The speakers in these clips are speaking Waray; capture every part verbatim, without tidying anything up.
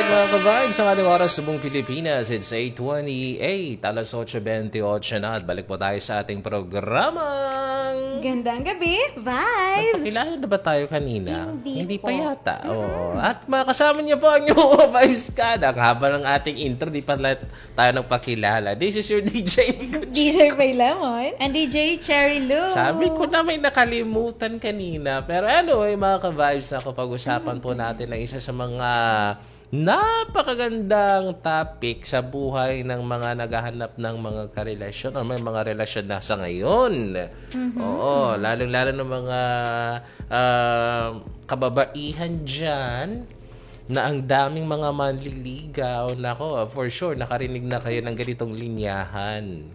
Mga ka-vibes, ang ating oras sa buong Pilipinas, it's eight twenty-eight, alas otso bentiocho na, at balik po tayo sa ating programang Gandang Gabi, Vibes! Nagpakilala na ba tayo kanina? Hindi Hindi pa po. yata. Oo. At makasama niyo po ang inyong mga vibes kada. Ang haba ng ating intro, di pa lahat tayo nagpakilala. This is your D J, Nico D J Pay Lemon. And D J Cherry Lou. Sabi ko na may nakalimutan kanina. Pero anyway, mga ka-vibes, ako, pag-usapan po natin ang isa sa mga napakagandang topic sa buhay ng mga naghahanap ng mga karelasyon o may mga relasyon na sa ngayon. Oo, lalong-lalo ng mga, ah, kababaihan diyan na ang daming mga manliligaw. Nako, for sure, nakarinig na kayo ng ganitong linyahan.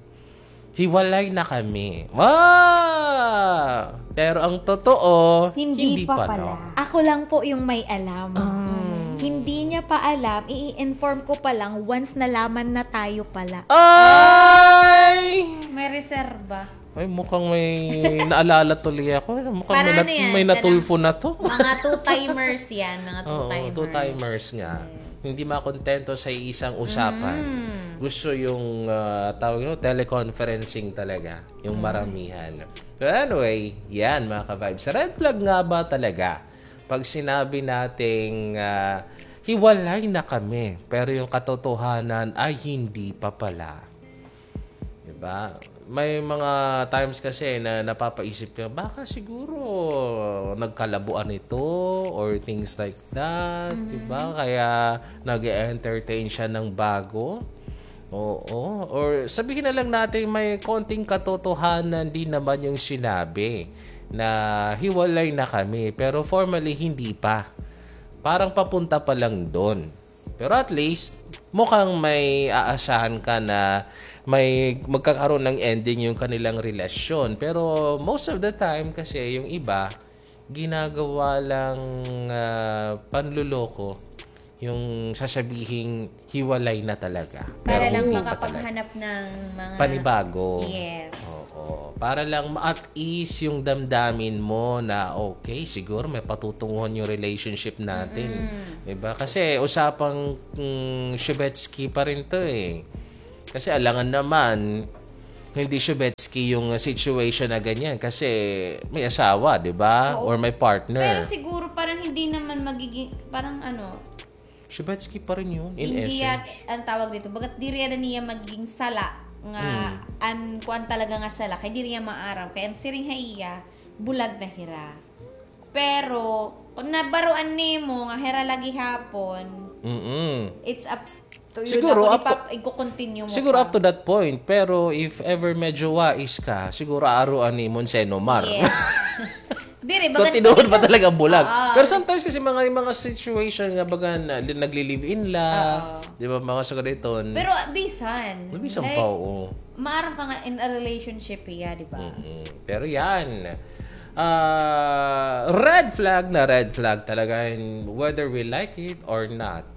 Hiwalay na kami. Wow! Pero ang totoo, Hindi hindi pa pa pala. pala. Ako lang po yung may alam. Ah. Mm. Hindi niya pa alam, i-inform ko pa lang once nalaman na tayo pala. Ay! May reserba. Ay, mukhang may naalala tuloy ako. Mukhang Para may nat-, ano yan? may natulfo na to. Mga two-timers yan. Mga Oo, two-timers. two-timers nga. Yes. Hindi makontento sa isang usapan. Mm. Gusto yung, ah, tawag yun, teleconferencing talaga. Yung Mm. maramihan. So anyway, yan, mga ka-vibes. Red flag nga ba talaga pag sinabi nating, ah, hiwalay na kami, pero yung katotohanan ay hindi pa pala? Diba? May mga times kasi na napapaisip ka, baka siguro nagkalabuan ito or things like that, diba? Mhm. Kaya nag-e-entertain siya ng bago. Oo. Or sabihin na lang natin may konting katotohanan din naman yung sinabi na hiwalay na kami, pero formally hindi pa. Parang papunta pa lang dun. Pero at least, mukhang may aasahan ka na may magkakaroon ng ending yung kanilang relasyon. Pero most of the time kasi, yung iba, ginagawa lang, ah, panloloko yung sasabihing hiwalay na talaga. Para Pero lang hindi pa talaga. makapaghanap ng mga Panibago. Yes. Oo. Para lang ma-, at ease yung damdamin mo na, okay, siguro may patutunguhan yung relationship natin. Mm-mm. Diba? Kasi usapang, mm, Shubetsky pa rin to eh. Kasi alangan naman, hindi Shubetsky yung situation na ganyan. Kasi may asawa, diba? Oo. Or may partner. Pero siguro parang hindi naman magiging, parang ano, Shubetsky pa rin yun, in Hindi essence. yat-, ang tawag dito, bagat diri na niya magiging sala nga Mm. an kuan talaga nga sala, kay diri niya maaram. Kay an siring ha iya, bulag na hira. Pero, kung nabaroan nimo nga hira la gihapon, Mm-mm. it's up to you Siguro na kung up to, ipa-, i-continue mo siguro pa. up to that point, pero if ever medyo wais ka, siguro aaruan nimo si Nomar. Yes. Diri, Kung baga tinuod ba nagkita-, talaga bulag. Oo. Pero sometimes kasi mga, yung mga situation nga baga na, li-, nagli-live-in la, Oo. di ba, mga sa gaditon. Pero, ah, bisan. Bisan Like, pa, oo. maaram ka nga in a relationship, iya, di ba? Mm-mm. Pero yan, ah, red flag na red flag talaga, and whether we like it or not.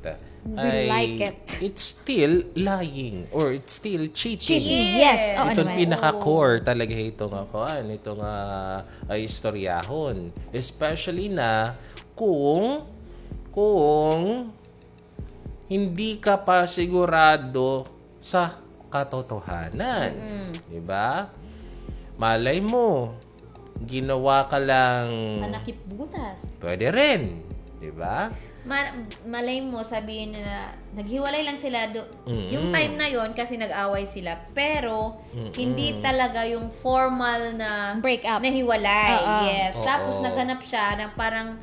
We Ay, like it. it's still lying or it's still cheating. Cheating, yes. Yes. Oo Ito naman. pinaka-core talaga ito nga kuan, ito nga, ay, istoryahon. Especially na kung, kung hindi ka pa sigurado sa katotohanan. Mm-mm. Di ba? Malay mo, ginawa ka lang Panakip butas. Pwede rin. Di ba? Ma-, malay mo, sabihin na naghiwalay lang sila do-, Mm-mm. yung time na yon kasi nag-away sila. Pero, Mm-mm. hindi talaga yung formal na Break up. nahiwalay. Oo. Yes. Oo. Tapos, naghanap siya ng parang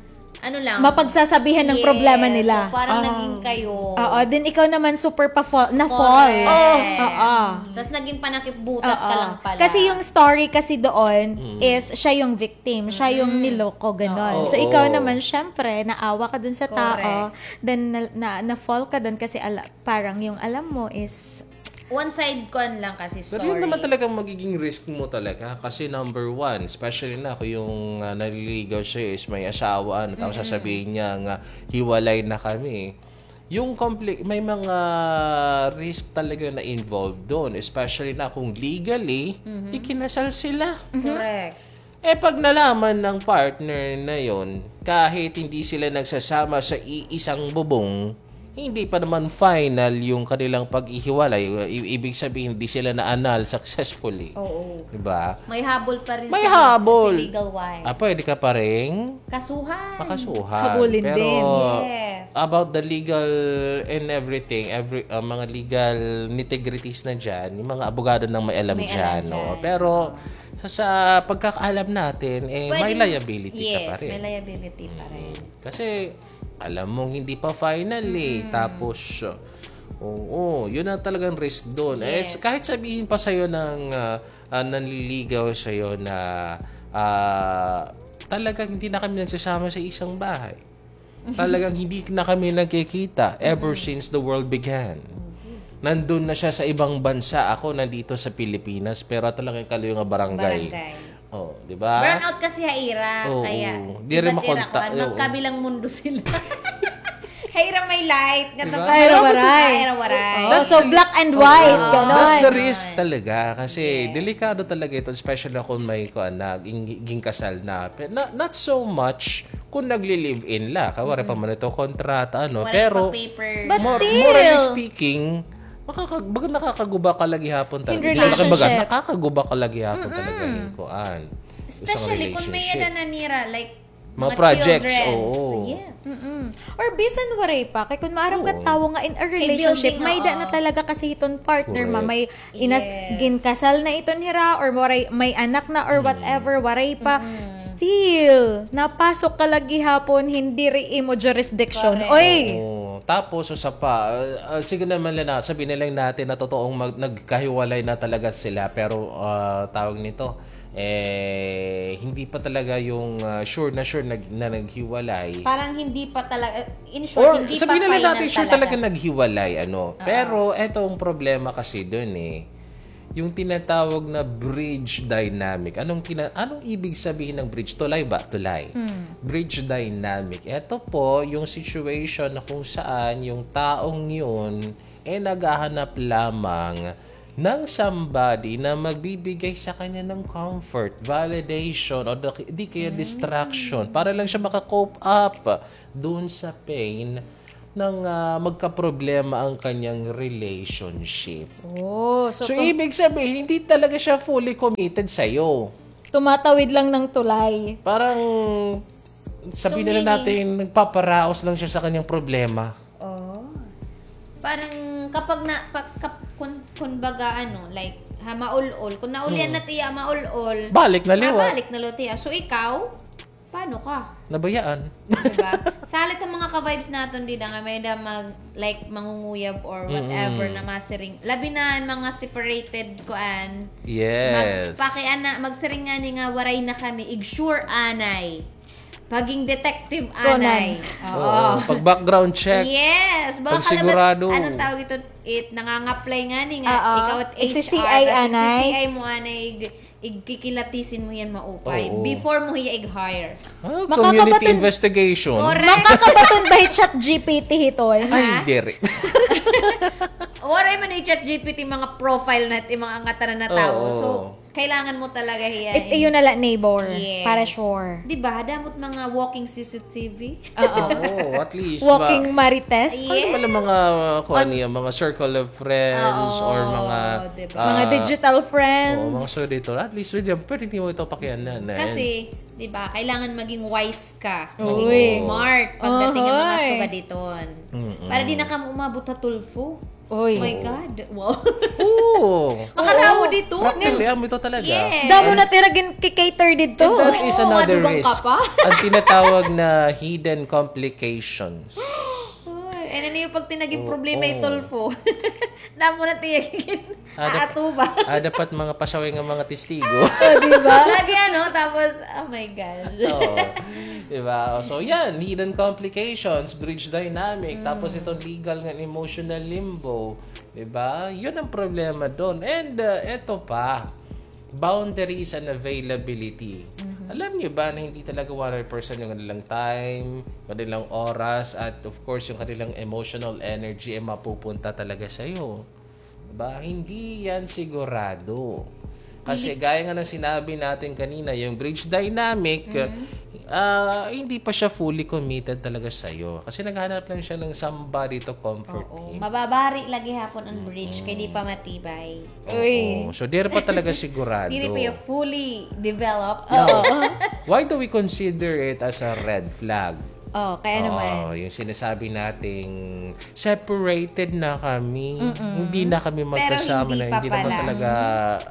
ano lang. Mapagsasabihan ng Yes. problema nila. So, parang Ah. naging kayo. Oo, then ikaw naman super pa-fall, na-fall. Correct. Oo. Tas naging panakip butas ka Oo. lang pala. Kasi yung story kasi doon Mm. is siya yung victim, siya yung Mm. niloko, ganon. Oo. So, ikaw Oo. naman, syempre, naawa ka dun sa tao, Correct. then na, na, na-fall ka dun kasi ala-, parang yung alam mo is One side kuan lang kasi Pero yun story. naman talagang magiging risk mo talaga. Kasi number one, especially na kung yung, ah, naliligaw siya is may asawa, ano, tapos Mm-mm. sasabihin niya nga, "Hiwalay na kami." Yung compli-, may mga risk talaga na involved doon, especially na kung legally, Mhm. ikinasal sila. Mhm. Correct. Eh, pag nalaman ng partner na yon, kahit hindi sila nagsasama sa iisang bubong, hindi pa naman final yung kanilang paghihiwalay. I- ibig sabihin, hindi sila na-annul successfully. Oo. Di ba? May habol pa rin May sa, habol. Sa legal wise. Ah, pwede ka pa rin Kasuhan. Makasuhan. Habulin Pero din. Yes. about the legal and everything, every ah, mga legal nitty-gritties na dyan, yung mga abogado nang may alam May dyan. alam No? dyan. Pero sa, sa pagkakaalam natin, eh, may Pwede- liability yes, ka pa rin. May liability pa rin. Kasi alam mong hindi pa final eh. Tapos, oo, yun ang talagang risk doon. Eh, Yes. kahit sabihin pa sa'yo ng ah, ah, nanliligaw sa'yo na ah, talagang hindi na kami nagsasama sa isang bahay. Talagang hindi na kami nagkikita ever since the world began. Nandun na siya sa ibang bansa, ako nandito sa Pilipinas, pero talagang kalayo nga barangay. Barangay. Oh, di ba? Brownout kasi ha ira, Oo. kaya Di rin iba't ira, makontak, kuwan, oo. magkabilang mundo sila. Ha ira may light, nga Di to ba? ka- Ira waray. Ira waray. Oh, so black and white, ganon. That's the risk Ganon. talaga kasi Yes. delikado talaga ito, especially kung may kuan na ging- gingkasal na. Pe- na- not so much kung nagli-live-in la, kay wala pa man ito kontrata, ano, Wala pero pa paper. But mor- still. Morally speaking, makakag- baga nakakaguba ka lagi hapon talaga. In Hindi talaga baga, relationship. Nakakaguba ka lagi hapon talaga yung kuan. Isang Especially kung may relationship. Nanira, like, Mga projects, children's. oo. Yes. Mm-mm. Or bisan waray pa, kay kung maaram ka Oo. tawo nga in a relationship, building, may da oo. na talaga kasi hiton partner ma, Correct. may inas Yes. ginkasal na iton hira or waray, may anak na or whatever, waray pa, still napasok ka lagi hapon, hindi ri imo jurisdiction. Correct. Oy! Oo. Tapos, usa pa, ah, ah, sige naman lang na, sabihin na lang natin na totoong mag- nagkahiwalay na talaga sila, pero ah, tawag nito, eh, hindi pa talaga yung ah, sure na sure na, na naghiwalay. Parang hindi pa talaga, in Or short, hindi pa sabihin na lang final natin, sure talaga talaga. Naghiwalay, ano. Pero eto ang problema kasi dun eh. Yung tinatawag na bridge dynamic. Anong tina- anong ibig sabihin ng bridge? Tulay ba? Tulay. Bridge dynamic. Ito po yung situation na kung saan yung taong yun eh naghahanap lamang ng somebody na magbibigay sa kanya ng comfort, validation, o di, di kaya distraction para lang siya maka-cope up doon sa pain ng ah, magkaproblema ang kanyang relationship. Oh, so, So, tum- ibig sabihin, hindi talaga siya fully committed sa'yo. tumatawid lang ng tulay. Parang, sabihin na lang meaning- natin, nagpaparaos lang siya sa kanyang problema. Oh. Parang kapag na, pag, kap, kun, kun baga ano, like, ha, maul-ol. Kung naulian na tiya, maul-ol. Balik na liwat. Ah, balik na liwat tiya. So, ikaw, paano ka? Nabayaan. Diba? Salit ang mga ka-vibes naton dida nga may da mag, like, mangunguyab or whatever na masiring. Labi na ang mga separated kuan. Yes. Magpakiana, magsiring ngani nga waray na kami, ig-sure anay. Paging detective Conan. Anay. Oo. Pag background check. Yes. Baka Pag sigurado. Anong tawag ito? It, nangangaplay ngani nga. Oo. Ikaw at Ig-C C I H R, tas anay. ig-C C I mo anay, ig- igkikilatisin mo yan maupay. Oo. Before mo hiya ig-hire. Ah, Makakabaton- community investigation. Correct. Makakabaton ba hi ChatGPT hiton? Ay, diri. Waray man i-ChatGPT mga profile na, yung mga angatan na tao. Oo. So, kailangan mo talaga hiya. It, yun na lang neighbor. Yes. Para sure. Di ba? Damot mga walking C C T V. Oo. Oo, at least. Walking ba, marites. Ano naman ang mga, kuha niya, mga circle of friends Oo, or mga diba? ah, Mga digital friends. Oo, mga sugaditon. At least, pwede, pwede mo ito pakianan. Eh. Kasi, di ba, kailangan maging wise ka. Uy. Maging smart pagdating ng mga Ohoy. sugaditon. Para di na ka umabot ha Tulfo. Uy. Oh my God. Wow. Oo. Makarawo dito. Practically, amo ito talaga. Yes. Damo na tira gin-cater dito. And that is Oo, another madungkang ka risk. pa. Ang tinatawag na hidden complications. Uy, eh, ano yung pag tinaging Oo, problema yung oo. Tulfo? Damo na tiyagin. Ah, dap- Ato ba? Ah, dapat mga pasaway nga mga testigo. Oh, di ba? Lagi ano, tapos, oh my God. Oo. Diba? So, yan. Hidden complications, bridge dynamic, tapos itong legal nga emotional limbo. Diba? Yun ang problema doon. And uh, eto pa, boundaries and availability. Alam niyo ba na hindi talaga one hundred percent yung kanilang time, kanilang oras, at of course, yung kanilang emotional energy ay mapupunta talaga sa'yo? Diba? Hindi yan sigurado. Kasi gaya nga ng sinabi natin kanina, yung bridge dynamic, ah, hindi pa siya fully committed talaga sa'yo. Kasi naghahanap lang siya ng somebody to comfort him. Mababari lagi hapon an bridge, kay di pa matibay. Oo. So, diri pa talaga sigurado. Diri pa yung fully developed. Now, why do we consider it as a red flag? Oh, kaya naman. Oo, yung sinasabi nating separated na kami, hindi na kami Pero magkasama hindi na, pa hindi naman pala. Talaga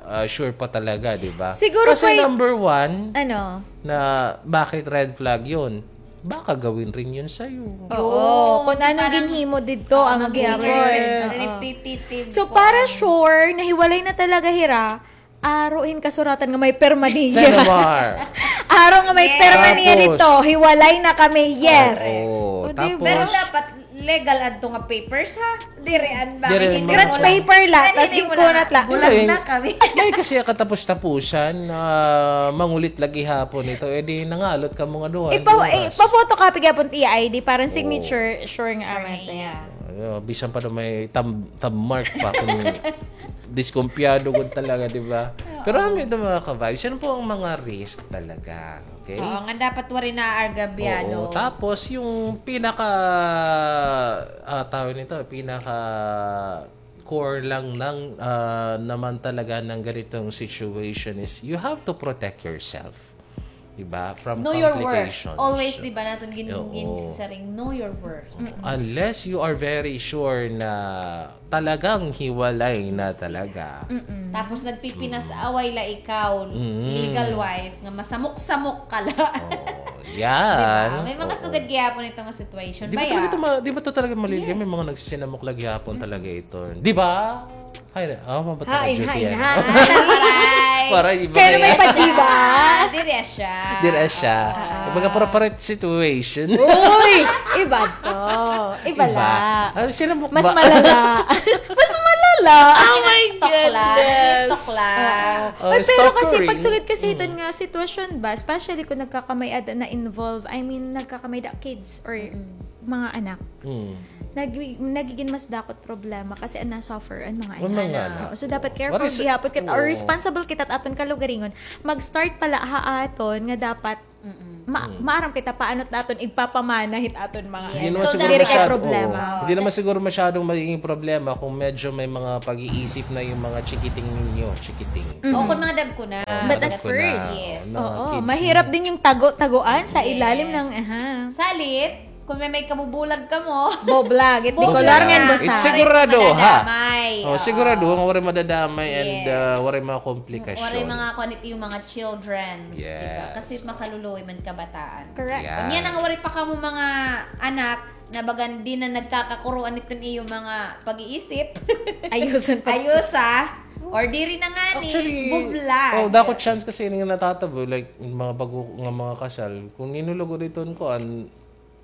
ah, sure pa talaga, di ba? Siguro Kasi kay- number one, Ano? Na bakit red flag yun? Baka gawin rin yun sa'yo. Oo. Kung anong ginhimo dito, ang Mag-repeat, gihapon. Oo. repetitive. So, para sure, nahiwalay na talaga hira, aro hin kasuratan nga may perma niya. Senomar. Aro nga may perma niya Tapos, dito. Hiwalay na kami. Yes. Oo, O, di tapos, ba? Pero dapat legal adto nga papers, ha? Diri an ba? Diri an Scratch paper la, tas ginkunat la. Bulag na kami. May kasi katapos-tapusan, ah, mangulit lagi hapon ito, eh di nangalot ka mga duha. Ipa, duha. Ipa-photocopy gapon iya I D, parang signature, sure nga amat. Yeah. Ano, bisan pa daw may tam, tam mark pa kung diskumpiyado gud talaga, di ba? Pero ano ito mga ka-vibes, yun po ang mga risk talaga. Okay? Oo, nga dapat wari na argabyado. Oo, tapos yung pinaka ah, tawag nito, pinaka core lang ng ah, naman talaga ng ganitong situation is you have to protect yourself. Diba? From Know your complications. Worth. Always, di ba, natin gin, Oo. Ginsisaring, know your worth. Unless you are very sure na talagang hiwalay na talaga. Tapos nagpipinas-away la ikaw, Mm. legal wife, nga masamok-samok ka la. Oh, yan. Diba? May mga Oo. Sugad gihapon ito nga situation. Di ba Baya. Talaga ito ma- di ba ito talaga maliligaya? May mga nagsisinamok lagi hapon talaga ito. Di ba? Hay, oh, mabata Hain, ka, hain, Judy, hain. Aray! Para di ba? Pero may pag-iba. Diri siya. Diri siya. Iba ka appropriate situation. Uy! Iba to. Iba la. Ah, sinamok Mas ba? Malala. Mas malala. Oh my goodness. Stalk la. Oh, Ay, pero kasi stalkering. Pagsugad kasi ito nga sitwasyon ba, especially kung nagkakamay-ada na involved, I mean, nagkakamay-ada kids or mga anak. Mm. Nag nagigin mas dakot problema kasi an na-suffer an mga An mga anak. anak. Oo, so dapat Oo. careful What is- gihapon kita or oo. Responsible kita aton kalugaringon. Mag-start pala ha aton nga dapat ma- maaram kita paano naton igpapamana hit aton mga Yes. Hindi anak. naman So, siguro dapat- masyado, problema. oo. Hindi naman siguro masyadong magiging problema kung medyo may mga pag-iisip na yung mga chikiting ninyo, chikiting. O kung mga dagko na. But at Dagko na, first, Yes. mga Oo, kids. mahirap din yung tago-tagoan sa ilalim ng, aha. Salit, kung may may kabubulag ka mo. Boblag, it Boblag. Bicolor nga It basa. sigurado, ha? Madadamay. Oh, sigurado nga waray madadamay and Yes. uh, waray mga komplikasyon. Waray mga kuan it iyo mga children, di ba? Yes. Kasi makaluluoy man kabataan. Correct. Yeah. Unya na nga waray pa kamo mga anak na bagan di na nagkakakuruan iton iyo mga pag-iisip. Ayusan pa. Ayusa. Or diri na nga ni Actually, bublag. Oh, dako chance kasi nga natatabo, like, mga bago nga mga kasal, kung ninulugod iton kuan,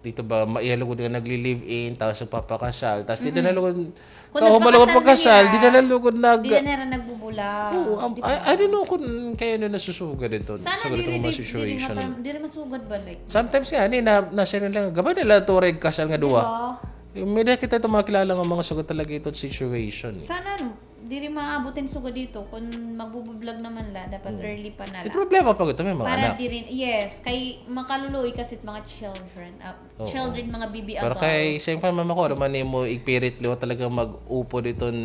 dito ba, maihalugod nga nagli-live-in, tapos nagpapakasal, tapos dito na lugod, Kung kahuman lugod nagpakasal pagkasal, na dito na lugod nag, Di na nila nagbubula. Oo, um, I, I don't know kung kaya na nasusugad ito. Sana Sugad diri, itong mga diri, situation. Diri, mata- diri masugad balik. Sometimes nga, ni, na, nasa rin lang, gabay nila ito rin kasal nga duwa. Diba? Yung may nakita itong mga kilala nga mga sugad talaga itong situation. Sana, no, diri maabot ang sugad dito. Kung magbubublag naman la, dapat early pa na May la. problema pa ito, may mga Para anak. Diri, yes, kay makaluluoy kasi mga children, ah, Oo. children, mga bibi Pero agaw. Kay same time, mama ko, naman mo igpirit liwa talaga mag-upod iton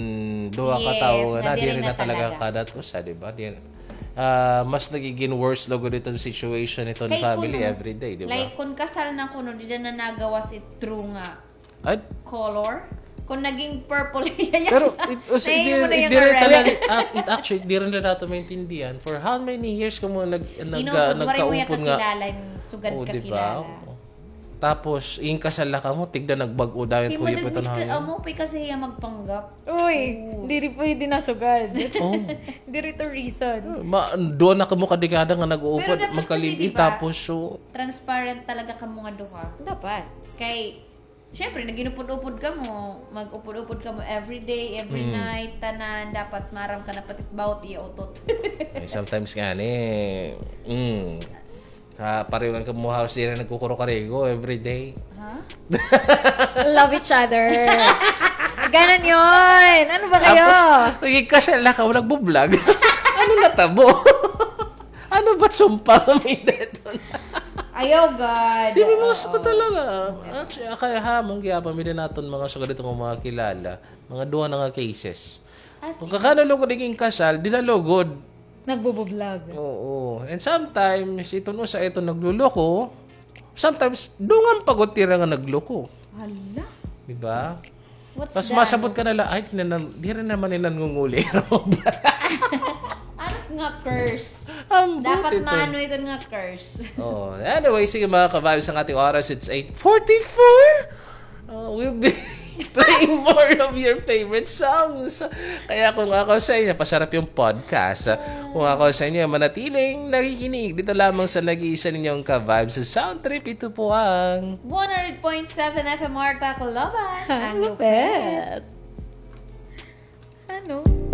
duha ka Yes, tawo na na diri diri na na talaga talaga. Kadat usa, di ba? Di, ah, mas nagiging worse lugod iton situation iton Kay family kung, everyday, di ba? Like, kung kasal na kuno, di na nagawas it true nga At, color. Kung naging purple siya yan. pero it, us, Nahihimo di, na yung di rin red. talaga, ah, it actually, di rin na nato maintindihan for how many years ka mo nag, nag, Inubod, waray mo yung nagkaupod nga. kakilala yung sugad Oo, di kakilala. Ba? Tapos, yung kasal na ka mo, tigda nagbag-o dayon, Kay kuya pa ito managmit ka, na. Amo pa kasi iya magpanggap. Uy, diri pwede na sugad. Oh. Diri to reason. Ma, doon na ka mo kadekada nga nag-uupod, Pero dapat magkalibin, kasi, di ba? Tapos, so, Transparent talaga ka mga duha. Dapat. Kay, syempre, nag-inupod-upod ka mo, mag-upod-upod ka mo every day, every Hmm. night, tanan, dapat maram ka na pati bawat iya utot. Eh, sometimes nga ni, mm, ha, pareho lang ka mo halos diri nagkukuro-karigo every day. Ha? Love each other. Ganon yun. Ano ba kayo? Tapos, naging kasal na ka mo, nagbo-vlog. O, Ano natabo? Ano ba sumpa kami dito? Ayaw, God. Di ba, mga sumpa talaga? Actually, kaya hamon, kaya pa mi din naton mga sugad itong mga kilala. Mga duha na nga cases. As Kung kakano lugod iging kasal, di na lugod. Nagbubublog. Oo. And sometimes, iton usa, iton nagluloko. Sometimes, dungan pa gud tira nga nagloko. Hala. Di ba? What's Tapos that? Masabot ka na lang, ay, di na, di rin naman yung nangunguli. Ano nga curse? Ang Dapat buti to. Maanoy ko nga curse. Oh, anyway, sige mga ka-vibes, ang ating oras, it's eight forty-four. Oh, we'll be playing more of your favorite songs. Kaya kung ako sa inyo, pasarap yung podcast. Kung ako sa inyo, manatiling nakikinig dito lamang sa nag-iisa ninyong ka-vibes sa Sound Trip. Ito po ang One hundred point seven F M R Tacloban. Ang Lupet. Ano?